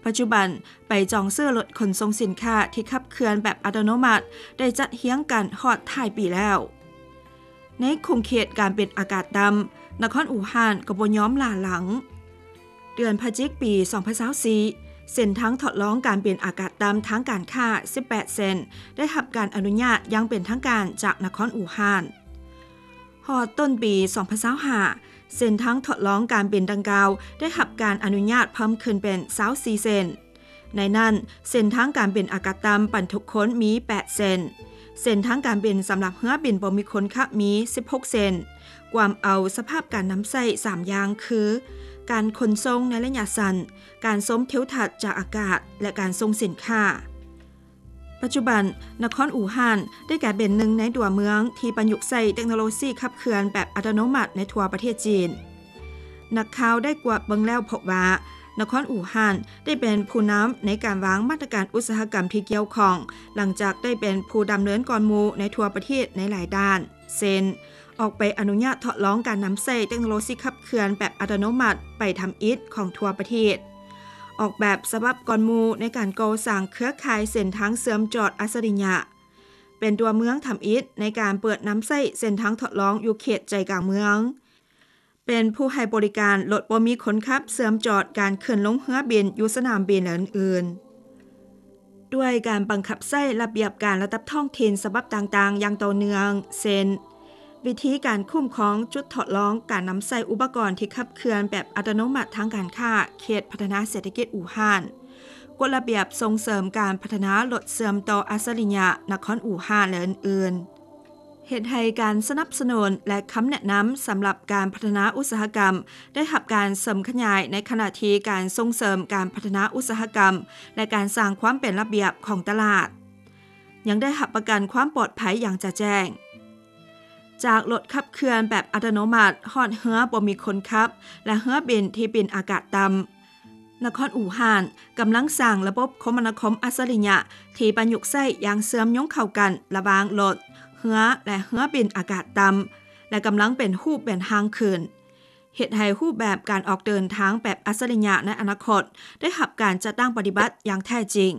ປັດຈຸບັນ ໄປຈອງຊື້ລົດຂົນສົ່ງສິນຄ້າທີ່ຂັບເຄື່ອນແບບອັດຕະໂນມັດ ໄດ້ຈັດຮຽງກັນຮອດທ້າຍປີແລ້ວ. ໃນຂົງເຂດການບິນອາກາດຕ່ຳ ນະຄອນອູ່ຮານກໍບໍ່ຍອມຫຼ້າຫຼັງ. ເດືອນພະຈິກປີສອງພັນຊາວສີ່ ເສັ້ນທາງທົດລອງການບິນອາກາດຕ່ຳທາງການຄ້າສິບແປດເສັ້ນ ໄດ້ຮັບການອະນຸຍາດຢ່າງເປັນທາງການຈາກນະຄອນອູ່ຮານ. ຮອດຕົ້ນປີສອງພັນຊາວຫ້າ ເສັ້ນທາງທົດລອງການບິນດັ່ງກ່າວໄດ້ຮັບການອະນຸຍາດເພີ່ມຂຶ້ນເປັນຊາວສີ່ເສັ້ນ. ໃນນັ້ນ ເສັ້ນທາງການບິນອາກາດຕ່ຳບັນທຸກຄົນມີແປດເສັ້ນ, ເສັ້ນທາງການບິນສຳລັບເຮືອບິນບໍ່ມີຄົນຂັບມີສິບຫົກເສັ້ນ, ກວມເອົາສະພາບການນຳໃຊ້ສາມຢ່າງຄື ການຂົນສົ່ງໃນໄລຍະສັ້ນ, ການຊົມທິວທັດຈາກອາກາດ ແລະ ການສົ່ງສິນຄ້າ. ປັດຈຸບັນ ນະຄອນອູ່ຮານໄດ້ກາຍເປັນໜຶ່ງໃນຕົວເມືອງທີ່ປະຍຸກໃຊ້ເຕັກໂນໂລຊີຂັບເຄື່ອນແບບອັດຕະໂນມັດໃນທົ່ວປະເທດຈີນ. ນັກຂ່າວໄດ້ກວດເບິ່ງແລ້ວພົບວ່າ ນະຄອນອູ່ຮານໄດ້ເປັນຜູ້ນຳໃນການວາງມາດຕະການອຸດສາຫະກຳທີ່ກ່ຽວຂ້ອງ ຫຼັງຈາກໄດ້ເປັນຜູ້ດຳເນີນກ່ອນໝູ່ໃນທົ່ວປະເທດໃນຫຼາຍດ້ານ ເຊັ່ນ ອອກໃບອະນຸຍາດທົດລອງການນຳໃຊ້ເຕັກໂນໂລຊີຂັບເຄື່ອນແບບອັດຕະໂນມັດໄປທຳອິດຂອງທົ່ວປະເທດ, ອອກແບບສະບັບກ່ອນໝູ່ໃນການກໍ່ສ້າງເຄືອຂ່າຍເສັ້ນທາງເຊື່ອມຈອດອັດສະລິຍະ, ເປັນຕົວເມືອງທຳອິດໃນການເປີດນຳໃຊ້ເສັ້ນທາງທົດລອງຢູ່ເຂດໃຈກາງເມືອງ, ເປັນຜູ້ໃຫ້ບໍລິການລົດບໍ່ມີຄົນຂັບເຊື່ອມຈອດການຂຶ້ນລົງເຮືອບິນຢູ່ສະໜາມບິນ ແລະ ອື່ນໆ. ດ້ວຍການບັງຄັບໃຊ້ລະບຽບການລະດັບທ້ອງຖິ່ນສະບັບຕ່າງໆຢ່າງຕໍ່ເນື່ອງ ເຊັ່ນ ວິທີການຄຸ້ມຄອງຈຸດທົດລອງການນຳໃຊ້ອຸປະກອນທີ່ຂັບເຄື່ອນແບບອັດຕະໂນມັດທາງການຄ້າເຂດພັດທະນາເສດຖະກິດອູ່ຮານ, ກົດລະບຽບສົ່ງເສີມການພັດທະນາລົດເຊື່ອມຕໍ່ອັດສະລິຍະນະຄອນອູ່ຮານ ແລະ ອື່ນໆ. ເຮັດໃຫ້ການສະໜັບສະໜູນ ແລະ ຄຳແນະນຳສຳລັບການພັດທະນາອຸດສາຫະກຳໄດ້ຮັບການເສີມຂະຫຍາຍ ໃນຂະນະທີ່ການສົ່ງເສີມການພັດທະນາອຸດສາຫະກຳ ແລະ ການສ້າງຄວາມເປັນລະບຽບຂອງຕະຫຼາດ ຍັງໄດ້ຮັບປະກັນຄວາມປອດໄພຢ່າງຈະແຈ້ງ. ຈາກລົດຂັບເຄື່ອນແບບອັດຕະໂນມັດຮອດເຮືອບໍ່ມີຄົນຂັບ ແລະ ເຮືອບິນທີ່ບິນອາກາດຕ່ຳ, ນະຄອນອູ່ຮານກຳລັງສ້າງລະບົບຄົມມະນາຄົມອັດສະລິຍະທີ່ປະຍຸກໃຊ້ຢ່າງເຊື່ອມໂຍງເຂົ້າກັນລະຫວ່າງລົດ, ເຮືອ ແລະ ເຮືອບິນອາກາດຕ່ຳ ແລະ ກຳລັງເປັນຮູບເປັນຮ່າງຂຶ້ນ, ເຮັດໃຫ້ຮູບແບບການອອກເດີນທາງແບບອັດສະລິຍະໃນອະນາຄົດໄດ້ຮັບການຈັດຕັ້ງປະຕິບັດຢ່າງແທ້ຈິງ.